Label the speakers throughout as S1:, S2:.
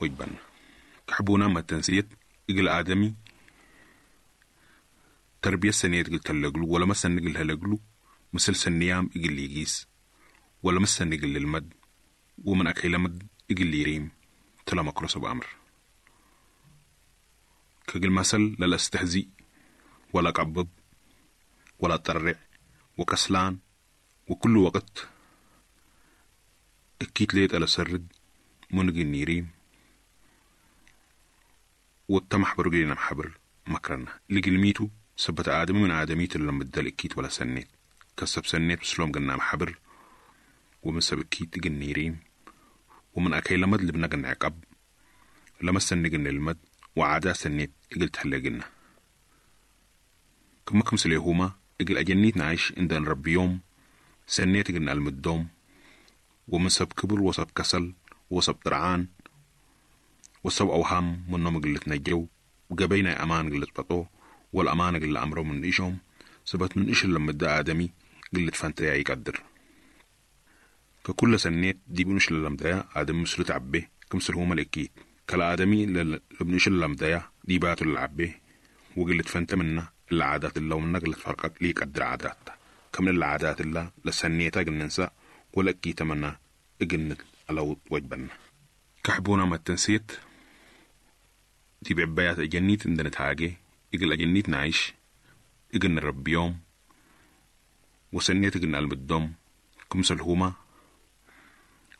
S1: وجبنا. كحبونا ما تنسيت إجل آدمي تربية سنيت قلت لقلو ولا مثلا نقل هلقلو مثل سنيام إجل يجيس ولا مثلا نقل المد ومن أكيل مد إجل يريم تلا مكروس بأمر كجل مثل لا استهزي ولا قبب ولا طرع وكسلان وكل وقت أكيد ليت على سرد منقل نيريم والتمح برجلنا محبر مكرنا لقلميتو سبت آدم من آدميت اللي مدل أكيد ولا سنيت كسب سنيت بسلوم قلنا محبر ومن سب أكيد نيريم ومن أكيل مد لبنا عقب لما سنقن المد وعادات سنيت إقل تحلقنا كما كم سليهما إقل أجنيت نعيش عند نربي يوم سنيت إقل المدوم ومن سب كبر وسب كسل وسب طرعان وسب أوهام منهم قلت نجو وقبينا أمان قلت بطو والأمان قل أمره من إيشهم سبت من إيش لما دا آدمي قلت فانتريا يقدر ككل سنيت دي بنش لما دا آدم مسلو تعبه كمسل هما الأكيد كلا آدمي لبنش لما دا دي باتو العبه وقلت فانت منا العادات اللي ومنا قلت فرقك ليك قدر عادات كم العادات اللي لسنيتا قل ننسى ولا أكيد منا إجنت على وجبنا. كحبونا ما تنسيت دي بعبايات أجنيت عندنا تاجي إجل أجنيت نعيش إجل نربي يوم وسنيت إجل نقلب الدم كمسل هما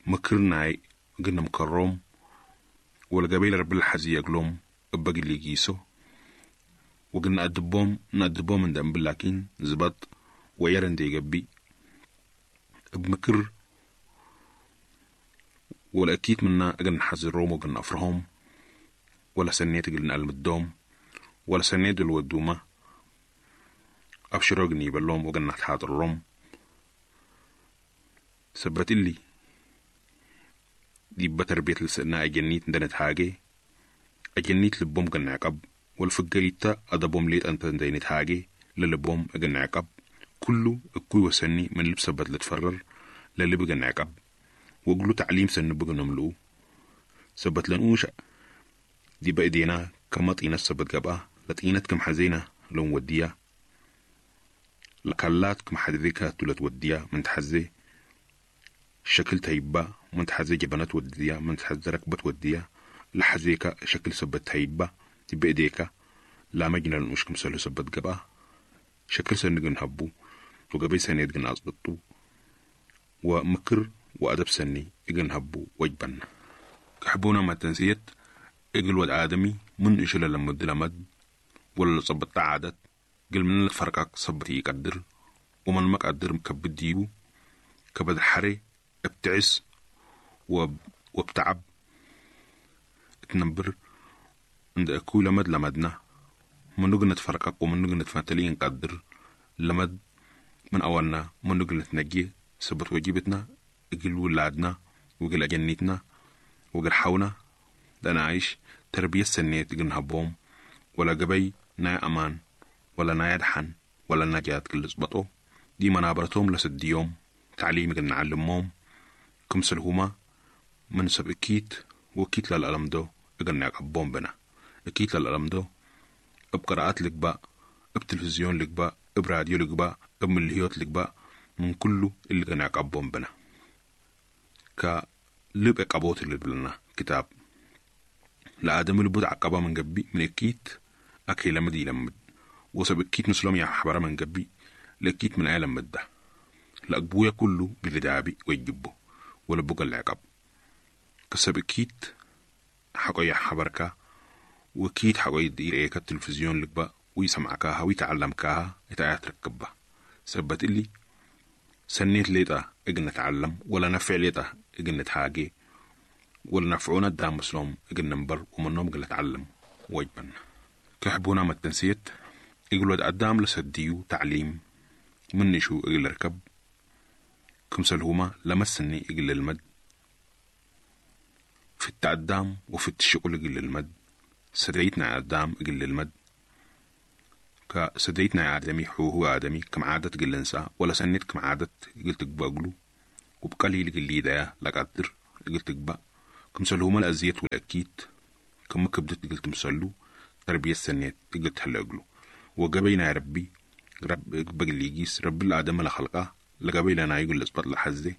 S1: مكرنا إجلنا مكروم ولا قبيل رب الحزي يقلوم أبقي اللي يجيسو وقلنا أدبهم نأدبهم من دم لكن زبط ويرن دي جبي بمكر ولا أكيد منا أجل نحذرهم وقلنا أفرهم ولا سنيت أجل نقلب الدوم ولا سنيت الودومة أبشروا جني بلوم وقلنا تحاضرهم سبت اللي دي بتربية لسنا أجنيت ندنت حاجة أجنيت لبوم قلنا عقب والفقريتا أدبهم ليت أنت ندينت حاجة للبوم أجن عقب كله الكوي وسني من لبسة بدل تفرر للي بقن عقب وقلو تعليم سن بقى نملو سبت لنوش دي بأيدينا كما طينة سبت قبا لطينة كم حزينة لو وديا لكلات كم حدذيكا تولت وديا من تحزي شكل تهيبا من تحزي جبنات وديا من تحزي ركبة وديا لحزيكا شكل سبت تهيبا دي بأيديكا لا مجنى لنوش كم سلو سبت قبا شكل سنقن هبو وقبي سنيد قن أصبطو ومكر وأدب سني إجن هبو وجبنا. كحبونا ما تنسيت إجل ود آدمي من إشلا لمد لمد ولا صبت عادت قل من الفرقك صبت يقدر ومن ما قدر مكبد ديو كبد حري ابتعس وبتعب تنبر عند أكو لمد لمدنا من نقل نتفرقك ومن نقل نتفاتلي نقدر لمد من أولنا من نقل نتنجي سبت وجيبتنا إجل ولادنا وإجل أجنيتنا وإجل حونا ده أنا عايش تربية سنية إجل نهبهم ولا جبي نا أمان ولا نا يدحن ولا نجات كل زبطو دي منابرتهم لسد يوم تعليم إجل نعلمهم كمسل هما من سب إكيت وكيت للألم دو إجل نعقبهم بنا إكيت للألم دو بقراءات لك بتلفزيون لك براديو لك بملهيوت لك من كله اللي كان يعقبهم بنا كلب عقبوت اللي بلنا كتاب لآدم اللي بود عقبا من جبي من أكيد أكي لمد يلمد وسب أكيد مسلم يا حبرة من جبي لأكيد من عالم مدة لأقبويا كله بالدعابي ويجبه ولا بقى العقب كسب أكيد حقا يا حبركة وكيد حقا يدير إيكا التلفزيون لك ويسمعكاها ويتعلمكاها يتعيات ركبها سبت اللي سنيت ليتا إجن نتعلم ولا نفع ليتا إجن نتحاجي ولا نفعونا الدام مسلم إجن نمبر ومنهم إجن نتعلم وجبنا. كحبونا ما تنسيت إجل قدام لسديو تعليم من شو إجل ركب كمسل هما لمسني إجل المد في التقدام وفي الشغل إجل المد سديتنا قدام إجل المد كسديتنا آدمي حوه آدمي كم عادة قل ولا سنت كم عادة قلت بقلو وبقليل قلي ده لقدر قلت بق كمسلهما الأزيت والأكيد كم كبدت قلت مسلو تربية سنيت قلت هلا وقبينا يا ربي رب بقليجيس رب الآدم لخلقه لقبيل أنا يقول لإثبات لحزة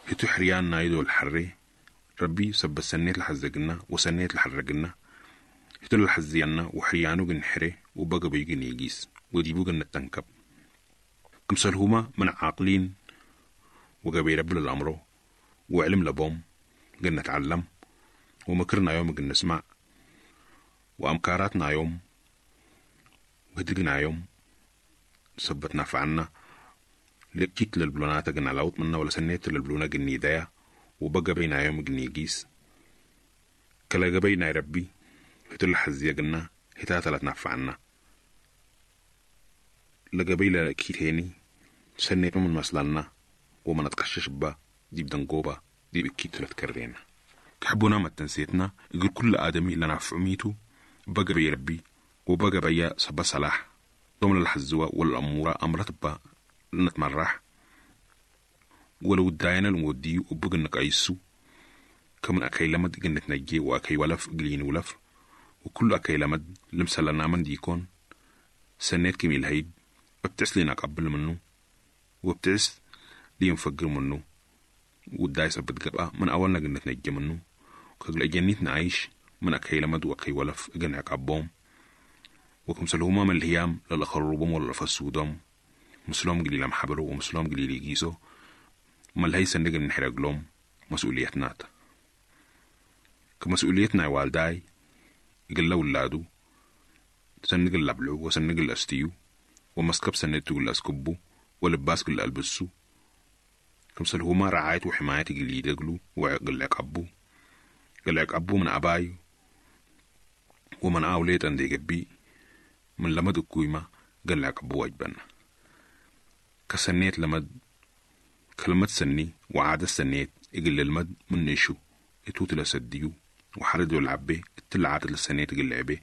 S1: هتو حريان نايدو الحري ربي سب سنيت لحزقنا وسنيت لحرقنا هتو لحزينا وحريانو جن وبقى بيجن يجيس وديبو جن التنكب. كمسلهما من عاقلين وقبي رب الأمر وعلم لبوم جن نتعلم ومكرنا يوم جن نسمع وأمكاراتنا يوم وهدقنا يوم سبتنا فعنا لكيت للبلونات جن على منا ولا سنيت للبلونة جن يدايا وبقى بينا يوم جن يجيس. كلا بينا ربي هتل حزية جنا هتاتا نفعنا لقبيلة كيت هيني سنيت من مسلنا وما نتقشش با دي بدنقوبة دي بكيت تكرينا. كحبونا ما تنسيتنا يقول كل آدمي لنا فعميتو بقى بي ربي وبقى بيا سبا صلاح. ضمن الحزوة والأمورة أمرت با نتمرح. ولو داينا المودي وبقى نقايسو كمن أكي لمد جنة نجي وأكي ولف قلين ولف. وكل أكي لمد لمسلنا من ديكون. سنيت كمي الهيد ببتعس لينا قبل منه وبتعس لي نفجر منه. والدايسة بتقبقى من أولنا جنة نجي منه. كل جنيتنا عايش من أكي لمد وأكي ولف جنة عقبهم. وكمسلهما من الهيام للأخربهم ولا فسودهم مسلم قليل محبرو ومسلم قليل يجيسو. ما الهيسة نجن نحرق لهم مسؤوليتنا. كمسؤوليتنا يا والداي قل ولادو سنقل لبلو وسنقل أستيو ومسكب سنتو الأسكبو ولباس قل ألبسو. كمسلهما رعاية وحماية قل يدقلو وقل عقبو قل عقبو من أباي ومن أوليت أندي قبي من لمد الكويمة قل عقبو واجبنا. كسنيت لمد كلمة سني وعادة سنيت إقل المد من نشو إتوت لسديو وحردو العبي التلعات لسنيت إقل عبي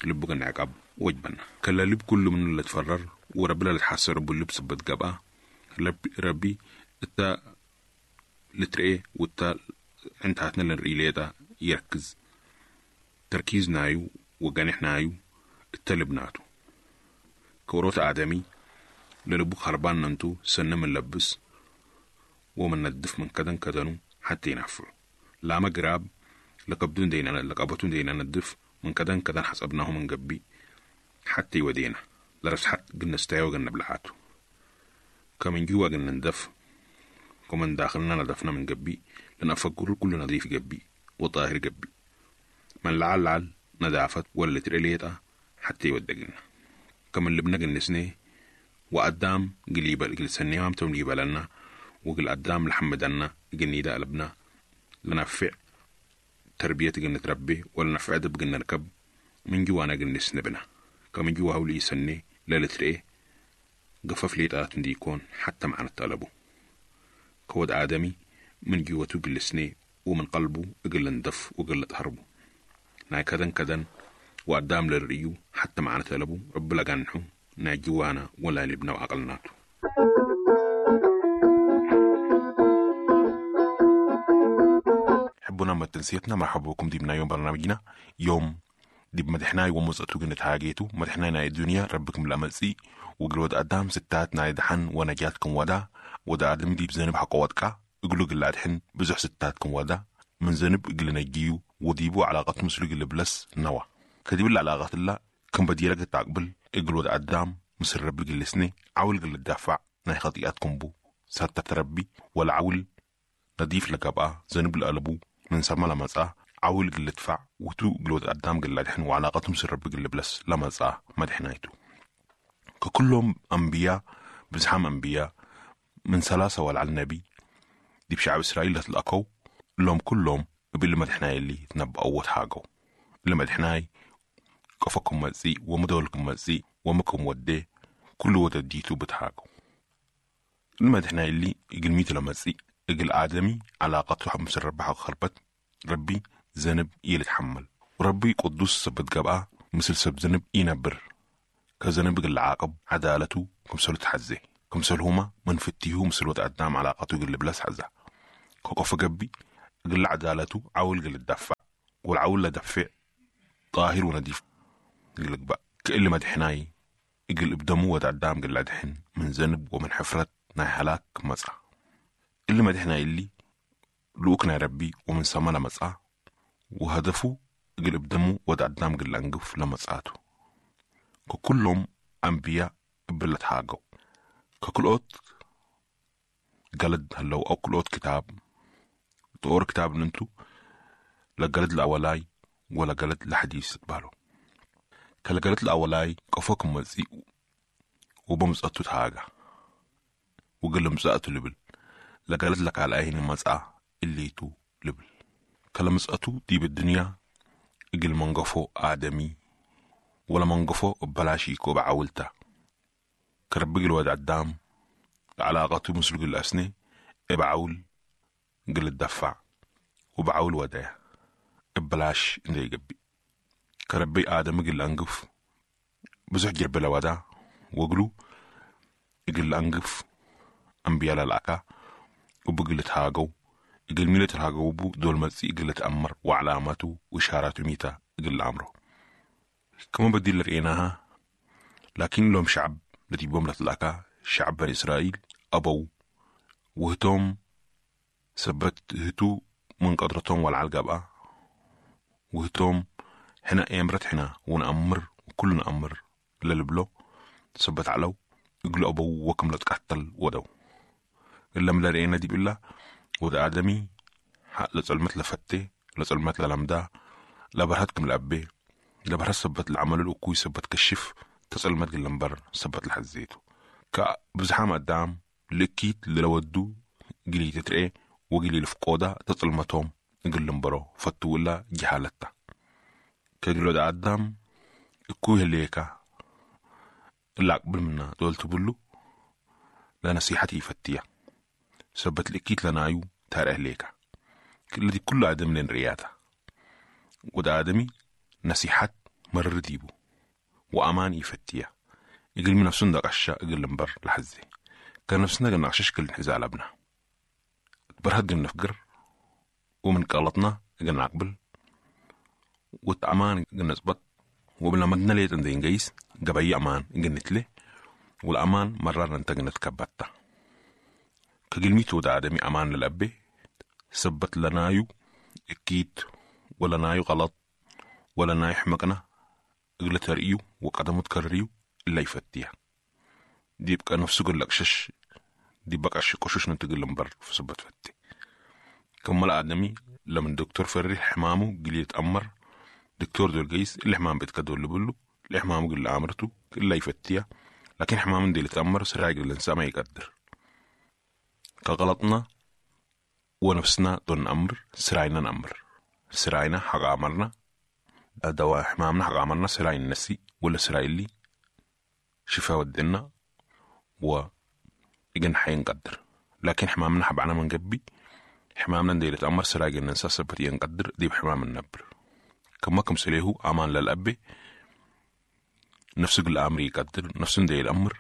S1: لبقى نعقب وجبنا. كلا لب كل من اللي تفرر وربنا اللي تحسر باللبس بتقبأ ربي التا لترئي والتا انت هاتنا للريليتا يركز تركيز نايو وجانح نايو التلبناتو كوروت آدمي للبوك خربان ننتو سنة من لبس ومن ندف من كدن كدنو حتى ينفعو. لا مقراب لقبدون دينا لقبتون دينا ندف من كدن كدن حسبناه من قبي حتى يودينا. لرس حت قلنا استايو قلنا بلعاتو. كمن جوا قلنا ندف ومن داخلنا ندفنا من قبي لأن أفكر كل نظيف قبي وطاهر قبي. من لعل لعل ندافت ولا تريليتا حتى يودقنا. كمن لبنا قلنا وقدام قليبا قل سنيام تم لنا وقل قدام لحمدنا قلني دا قلبنا لنفع تربية قلنا تربي ولا نفع دب قلنا نركب من جوانا قلنا سنبنا. كمن جوا هولي سني لا لتريه قفف لي تآتن ديكون حتى معنا الطلبو. كود آدمي من جوته قل سني ومن قلبه قل ندف وقل تهربو. ناي كدن كدن وقدام للريو حتى معنا طلبو رب لقنحو ناي جوانا ولا لبنا وعقلناتو.
S2: حبونا ما تنسيتنا مرحبا بكم دي يوم برنامجنا يوم دي بمدحناي ومزقتو جنة هاجيتو مدحناي ناي الدنيا ربكم الأملسي وقلود قدام ستات ناي دحن ونجاتكم ودا ودا آدم دي بزنب حق ودكا اقلو قل أدحن بزح ستاتكم ودا من زنب قل نجيو وديبو علاقة مسلو قل بلس نوا كديب العلاقة الله كم بديلك تعقبل اقلود قدام مسر رب قل سني عول قل الدافع ناي خطيئاتكم بو ساتة تربي ولا عول نضيف لك بقى زنب القلبو من سما لما عول قل دفع وتو قلود قدام قل دحن وعلاقتهم سر رب قل بلس لما مدحنايتو. ككلهم أنبياء بزحام أنبياء من ثلاثة ولا على النبي دي بشعب إسرائيل لتلقوا لهم كلهم باللي مدحناي اللي تنبأوا وتحاجوا اللي مدحناي قفكم مزي ومدولكم مزي ومكم ودي كل ودديتو بتحاجوا. المدحناي اللي قلميتو لمزي اجل آدمي علاقته حمس الرب خربت ربي ذنب يتحمل وربي قدوس سبت جبقى مثل سب ذنب ينبر كذنب قل عاقب عدالته كمسلو تحزي كمسل هما من فتيه مثل وتقدام علاقته قل بلاس حزة كوكف جبي
S1: قل عدالته عول قل الدفع والعول لدفع طاهر ونديف قل بقى كل مدحناي إقل إبدمو ودعدام قل أدحن من ذنب ومن حفرة ناي هلاك مزعة اللي مدحنا اللي لوكنا ربي ومن سما لمزعة وهدفه إقل إبدمو ودعدام قل أنقف لمزعاته ككلهم أنبياء بلت حاجو ككل أوت قلد هلو أو كل أوت كتاب تقور كتاب ننتو لا قلد الأولاي ولا قلد لحديث بالو كلا الأولاي قفوكم مزي وبمزقتو تهاجا وقل مزقتو لبل لقالت لك على أهين مزقة اللي تو لبل كلا مزقتو دي بالدنيا اجل منقفو آدمي ولا منقفو ببلاشيكو بعولتا كربق الواد عدام علاقته مسلق الأسني ابعول قل الدفع وبعول ودايا ببلاش اللي يقبي كربي آدم قل أنقف بزح جرب لودا وقلو إقل أنقف أنبياء للأكا وبقل تهاجو إقل ميلة تهاجو بو دول متسي إقل تأمر وعلاماته وإشاراته ميتا إقل أمره كما بدي رأيناها لكن لهم شعب التي بوم لتلاكا شعب بني إسرائيل أبوا وهتم سبت هتو من قدرتهم والعلقة وهتم حنا امرت حنا ونأمر وكلنا أمر للبلو سبت علو يقولوا أبو وكم لا تقتل ودو إلا ملا رأينا دي بالله وده آدمي حق لظلمت لفتي لظلمت للمدا لبرهتكم لأبي لبرهت سبت العمل الأكوي سبت كشف تظلمت للمبر سبت لحزيتو كبزحام قدام لكيت للودو جلي تترقي وجلي لفقودة تظلمتهم قل لمبرو فتو ولا جهالتا كجلو ده قدام الكوه الليكا اللي أقبل منا دول تبلو لا نصيحتي فتية سبت لكيت لنايو تاره ليكا الذي كل آدم لين رياتا وده آدمي نصيحة مرر ديبو وأمان يفتية يقل من نفسنا قشة يقل لمبر لحزي كان نفسنا قلنا قشش كل حزال أبنا برهد قلنا نفقر ومن قلطنا قلنا عقبل وتأمان قلنا نزبط وبلا مدنا ليت عند إنجيس قبي أمان قلنا له والأمان مرر أنت قلنا تكبتا كقلميتو ده آدمي أمان للأبي سبت لنايو أكيد ولا نايو غلط ولا نايو حمقنا قلت ترقيو وقدمو تكرريو إلا يفتيها دي بقى نفسه قل لك شش دي بقى قشش نتقل لمبر في سبت فتي كمل آدمي لما الدكتور فري حمامه قل يتأمر دكتور دول جيس اللي حمام بيتكدول اللي بقوله اللي حمامه قل أمرته إلا يفتيها لكن حمام دي اللي تأمر سرعة الإنسان ما يقدر كغلطنا ونفسنا دون أمر سرعنا نأمر سرعنا حق أمرنا دواء حمامنا حق أمرنا سرعي النسي ولا سرعي اللي شفا ودنا و إجن حينقدر لكن حمامنا حبعنا من قبي حمامنا دي تأمر سرعي النسا سبت ينقدر دي بحمام النبر كما كم سليه أمان للأبي نفسه قل أمر يقدر نفسه دي الأمر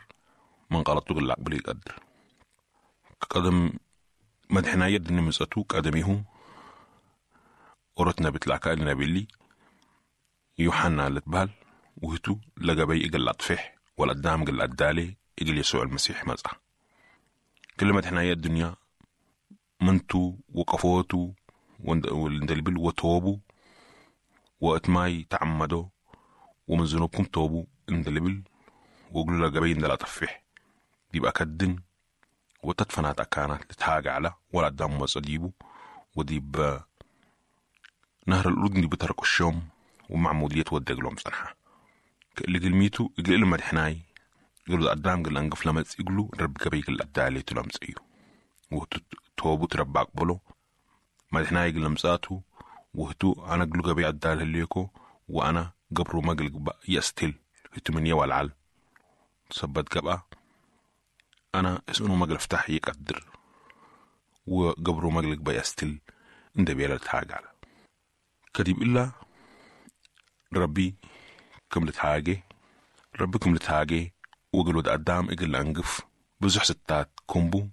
S1: من غلطه قل أقبل يقدر قدم مدحنا يد نمزتو قدميه ورتنا بتلاكا النبي يوحنا لتبال وهتو لقبي إقل أطفح والقدام قل أدالي إقل يسوع المسيح مزع كل مدحنا يد الدنيا منتو وقفوتو والندلبل وتوبو وأتماي تعمدو ومن ذنوبكم توبو اندلبل وقلوا لقبي اندل أطفح دي بقى كدن وتدفنات أكانت لتهاج على ولا قدام وصديبو ودي نهر الأردن دي بترك الشام ومعمودية ودق صنحة اللي قلميتو إقل إلو مدحناي يقولوا قدام قل أنقف لمس يقولوا رب قبي قل أدالي تلمس إيو وتوبو تربى أقبلو مدحناي قل لمساتو وهتو أنا قلو قبي أدال هليكو وأنا قبرو ما قل يستل هتو من يوالعل سبت قبأ أنا اسأنو ما قل افتح يقدر وقبرو ما قل بيستل انت بيلا تحاج على كديب إلا ربي كم لتحاجي ربي كم لتحاجي وقلو قدام إجل أنقف بزح ستات كومبو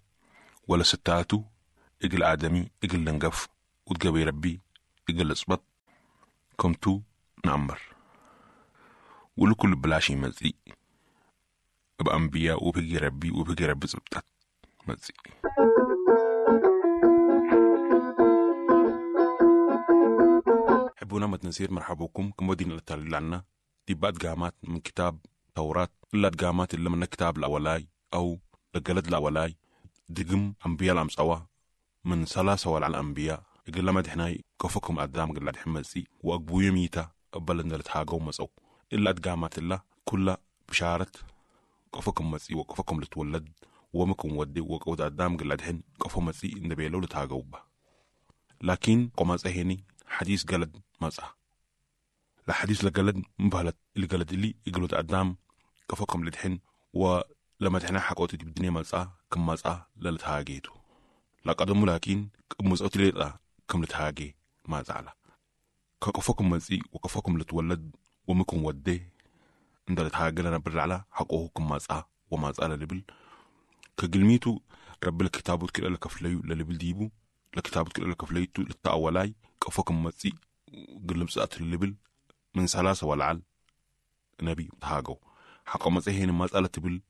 S1: ولا ستاتو إجل آدمي إجل لنقف وتقبي ربي إقل إصبط كمتو نأمر ولكل بلاشي مزي بأنبياء وبقي ربي وبقي ربي زبطت مزي. حبونا ما تنسير مرحبوكم كم ودينا للتعليل عنا دي بعد قامات من كتاب توراة إلا قامات اللي من كتاب الأولاي أو لقلد الأولاي دقم أنبياء الأمسوا من سلاسة على الأنبياء يقول لما دحناي كفكم قدام قل حمسي وأقبو يميتا أبلن لتحاجو مسو إلا قامات الله كلها بشارة كفكم مسي وكفكم لتولد ومكم ودي وقود قدام قل دحن كفو مسي إن بيلو لتحاجو لكن قماز أهني حديث قلد مسا الحديث لقلد مبهلت القلد اللي يقولوا قدام كفكم لدحن ولما دحنا حقوتي بالدنيا مسا كم مسا للتهاجيتو لقدموا لكن مزقت لي كم لتهاجي ما زعل كفكم مسي وكفكم لتولد ومكم ودي عند لتهاجي لنا بالرعلة حقوه كم مسا وما زعل لبل كقلميتو رب الكتاب كلا لكفليو للبل ديبو لكتاب كلا لكفليتو للتأولاي كفكم مسي قلم سأت اللبل من سلاسة والعل نبي تهاجو حق مسيحين مسألة تبل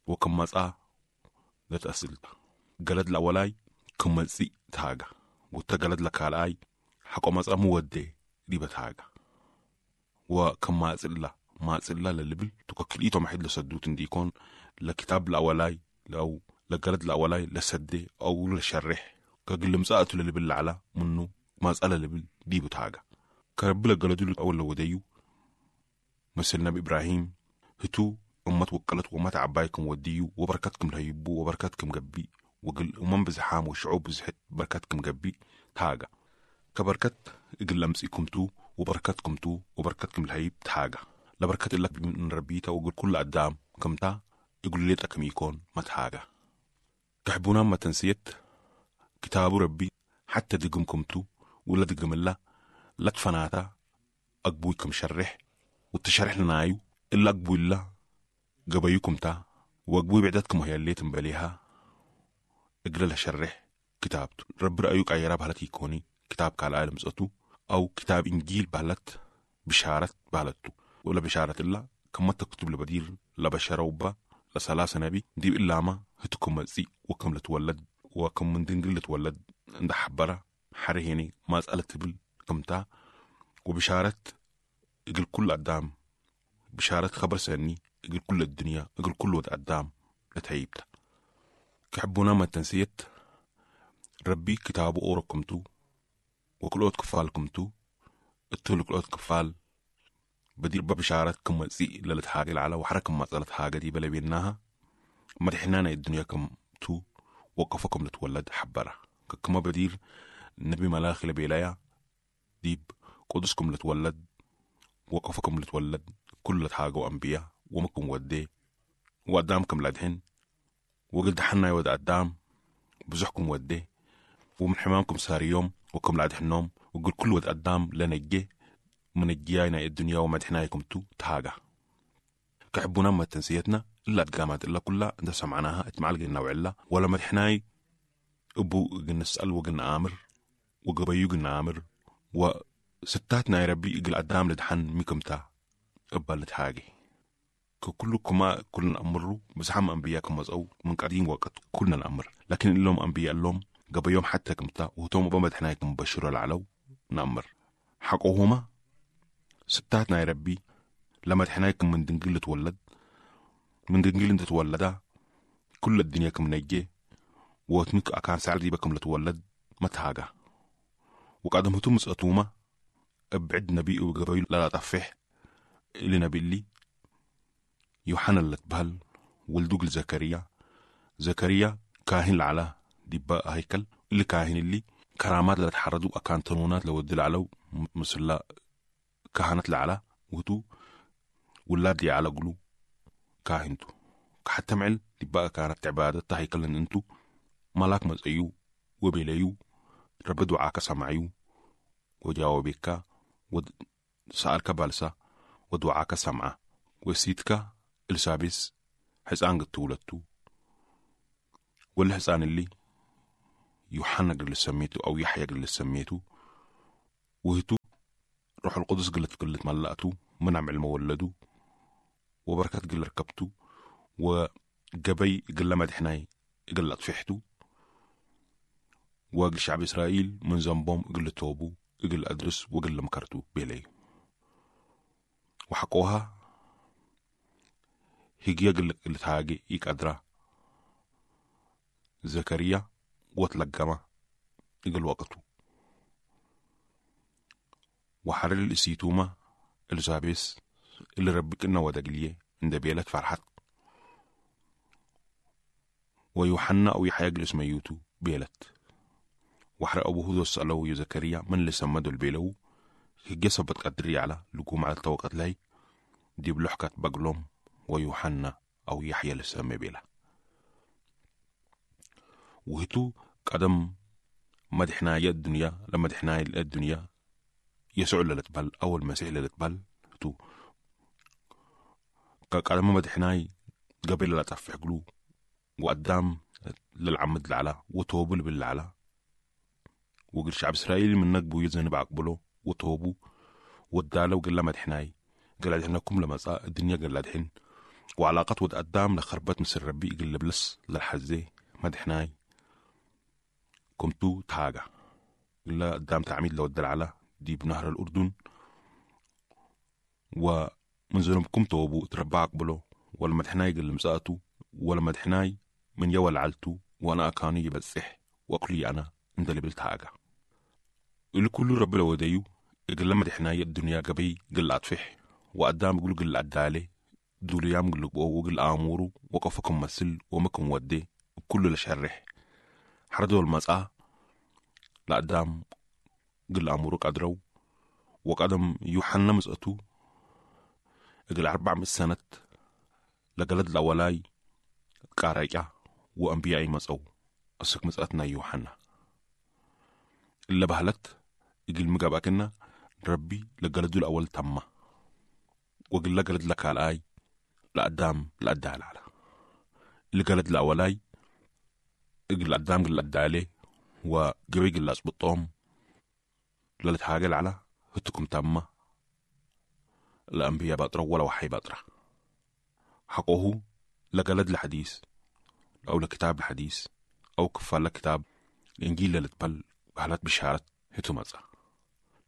S1: وكم مسأ لتأسل قلد الأولاي كم مسي تهاجا وتقلد لك على حق مسأ مودي دي بتهاجا وكم مسألة مسألة للبل تككليتو محد لسدوت ديكون لكتاب الأولاي لو لقلد الأولاي لسدي أو لشرح كقل مسأة للبل على منه مسألة لبل دي بتهاجا كرب لقلدو الأول لو وديو مثل نبي إبراهيم هتو أمت وكلت ومت عبايكم وديو وبركتكم لهيبو وبركتكم جبي وقل أمم بزحام وشعوب بزحت بركتكم جبي تاجا كبركت إجل لمسيكم تو وبركتكم تو وبركتكم الهيب تاجا لبركة لك من ربيتا وقل كل قدام كمتا يقول لي تكم يكون ما تحاجة تحبونا ما تنسيت كتاب ربي حتى دقمكم تو ولا دقم الله لا تفناتا أقبويكم شرح والتشرح لنايو إلا أقبو الله قبيكم تا وأقبوي بعدتكم هي اللي تنبليها اقرا شرح كتابته رب رأيك أي راب هلتي يكوني كتاب كالعالم زأتو أو كتاب إنجيل بهلت بشارة بهلتو ولا بشارة الله كما تكتب لبدير لبشرة وبا لسلاسة نبي دي إلا ما هتكم مزي وكم لتولد وكم من دنجل لتولد عند حبرة حرهيني ما سألت بل كمتا وبشارة إجل كل قدام بشارة خبر سني إجل كل الدنيا إجل كل ود قدام لتعيبتا كحبونا ما تنسيت ربي كتابه أوركمتو وكلوت كفالكمتو اتلو كلوت كفال بدير ببشارة كم زي للت حاجة العلا وحركة ما زالت حاجة دي بلا بيناها مدحنانا الدنيا كم تو وقفكم لتولد حبرة كما بدير النبي ملاخي لبيلايا ديب قدسكم لتولد وقفكم لتولد كل حاجة وأنبياء ومكم ودي وقدامكم لدهن وقلت حنا يود قدام بزحكم ودي ومن حمامكم سار يوم وكم لعد حنوم وقل كل ود قدام لنجي من الجيانا الدنيا ومدحنايكم تو تهاجا كحبونا ما تنسيتنا إلا تقامات إلا كلها عند سمعناها اتمعلقنا وعلا ولا مدحناي أبو نسأل وقلنا آمر وقبيو قلنا آمر وستاتنا يا ربي إقل قدام لدحن ميكمتا أبا لتحاجي كلكما كلنا أمروا بس حم أنبياءكم مزأو من قديم وقت كلنا نأمر لكن اللهم أنبياء اللهم قبل يوم حتى كمتا وتوم بمدحنايكم بشروا العلو نأمر حقوهما ستاتنا يا ربي لما تحنايكم من دنجل تولد من دنجل انت تولدا كل الدنيا كم نجي وتمك أكان سعر بكم لتولد ما تهاجا وقدم هتم مسأتوما ابعد نبي وقبيل لا تفح اللي نبي اللي يوحنا اللي تبهل ولدوق زكريا زكريا كاهن العلا دي هيكل اللي كاهن اللي كرامات اللي تحردوا أكان تنونات لو ودي العلو مثل كهنة العلا وتو ولاد على قلو كاهنتو حتى معل دي بقى كانت عبادة هيكل ان انتو ملاك مزأيو وبيليو رب دعاك سمعيو وجاوبك وسألك بالسا ودعاك سمعة وسيتك السابس حسان قد تولدتو والحسان اللي يوحنا قل سميته أو يحيى قل سميته، وهتو روح القدس قلت ملأته من عمل مولده وبركة قل ركبته وقبي قل مدحناي قل أطفحته، وقل شعب إسرائيل من ذنبهم قل توبو قل أدرس وقل مكرتو بيلي. وحقوها هيجي قل تهاجي يقدرا زكريا وتلقما قل وقته. وحرر الإسيتوما الزابيس اللي ربك إنه ودقليه عند بيلت فرحت. ويوحنا أو يحيى جلس ميوتو بيلت. وحرق أبوه سألو يا زكريا من اللي سمدو البيلو هجسة بتقدري على لقوم على التوقت لي دي بلحكة بقلوم ويوحنا أو يحيى لسمي بيلا. وهتو قدم مدحنا يا الدنيا لما مدحنا الدنيا يسوع للتبل أو المسيح للتبل تو قدم مدحناي قبل لا تفح قلو وقدام للعمد العلا وتوبل بالعلا وقل شعب إسرائيل من نقبو يزن بعقبلو وتوبو ودالو وقل لما دحناي قال دحناكم لما الدنيا قال دحين وعلاقات ود قدام لخربت مثل ربي قل بلس للحزي مدحناي كمتو تاجا قل قدام تعميد لو الدلعلة دي بنهر الأردن ومن ذنوبكم توبو تربى عقبلو ولا مدحناي قل مساتو ولا مدحناي من يول علتو وأنا أكاني يبسح وأقلي أنا انت اللي بلتاجا الكل رب لو ديو قل لما دحناي الدنيا قبي قل أطفح وقدام قل قل عدالي دوليام قل وقل آمورو وقفكم مسل ومكم ودي وكل لشرح حردوا المسأة لقدام قل آمورو قدرو وقدم يوحنا مسأتو قل 400 سنة لقلد الأولاي قارئة وأنبيائي مسأو أسك مسأتنا يوحنا اللي بهلت يقول مقابكنا ربي لقلدو الأول تمه وقل لقلد لك على آي لقدام لقدال على لقلد الأولاي يقول قدام قل قدالي وقوي قل أصبطهم للت حاجة على هتكم تمه الأنبياء بطرة ولا وحي بطرة حقوه لقلد الحديث أو لكتاب الحديث أو كفال لكتاب الإنجيل اللي تبل بهلت بشارة هتو مزا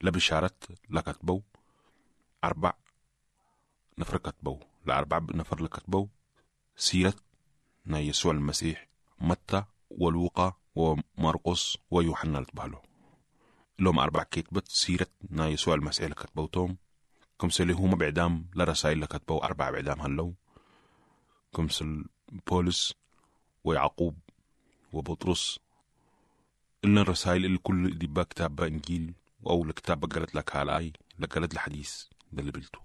S1: لبشارة لكتبو 4 نفر كتبو لأربع نفر لكتبو سيرة نا يسوع المسيح متى ولوقا ومرقس ويوحنا لتبالو لهم 4 كتبت سيرة نا يسوع المسيح لكتبوتهم كمسل هما بعدام لرسائل لكتبو 4 بعدام هلو كمسل بولس ويعقوب وبطرس إن الرسائل اللي كل دي با كتاب إنجيل أو الكتاب قالت لك هالاي لقالت الحديث ده اللي بلته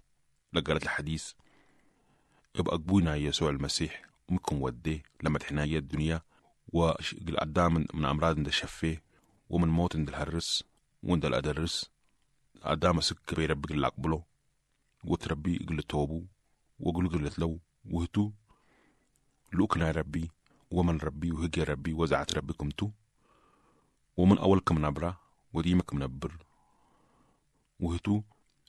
S1: لقالت الحديث يبقى أقبونا يسوع المسيح ممكن وديه لما تحنايا الدنيا وقدام من أمراض عند الشفيه ومن موت عند الهرس وعند الأدرس قدام سك بيربي اللي أقبله وتربي قل توبو وقل قلت لو وهتو لوكنا ربي ومن ربي وهجي ربي وزعت ربكم تو ومن أولكم نبرة وديمكم نبر وهتو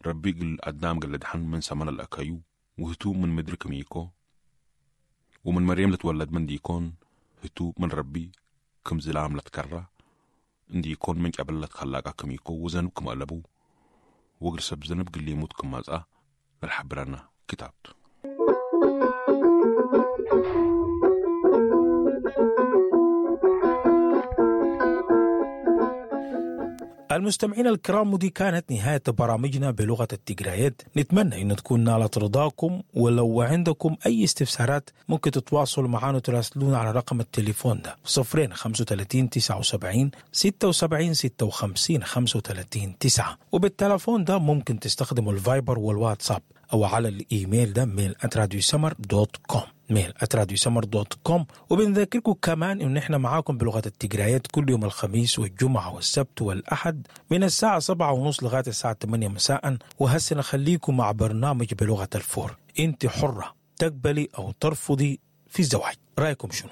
S1: ربي قل قدام قل دحن من سمن الأكايو وهتو من مدرك ميكو ومن مريم لتولد من ديكون هتو من ربي كم زلام لتكرى اندي يكون من قبل لتخلاقا كميكو وزنبكم قلبو وقل سب زنب قل يموتكم مازا للحبرنا كتابته.
S3: المستمعين الكرام، ودي كانت نهاية برامجنا بلغة التجريات. نتمنى أن تكون نالت رضاكم، ولو عندكم أي استفسارات ممكن تتواصلوا معنا وتراسلونا على رقم التليفون ده 0 35 79 76 56 35 9، وبالتلفون ده ممكن تستخدموا الفايبر والواتساب أو على الإيميل ده mail@radiosummer.com mail@radiosummer.com. وبنذكركم كمان إن إحنا معاكم بلغة التجريات كل يوم الخميس والجمعة والسبت والأحد من الساعة 7:30 لغاية الساعة 8 مساء. وهسه نخليكم مع برنامج بلغة الفور. أنت حرة تقبلي أو ترفضي في الزواج، رأيكم شنو؟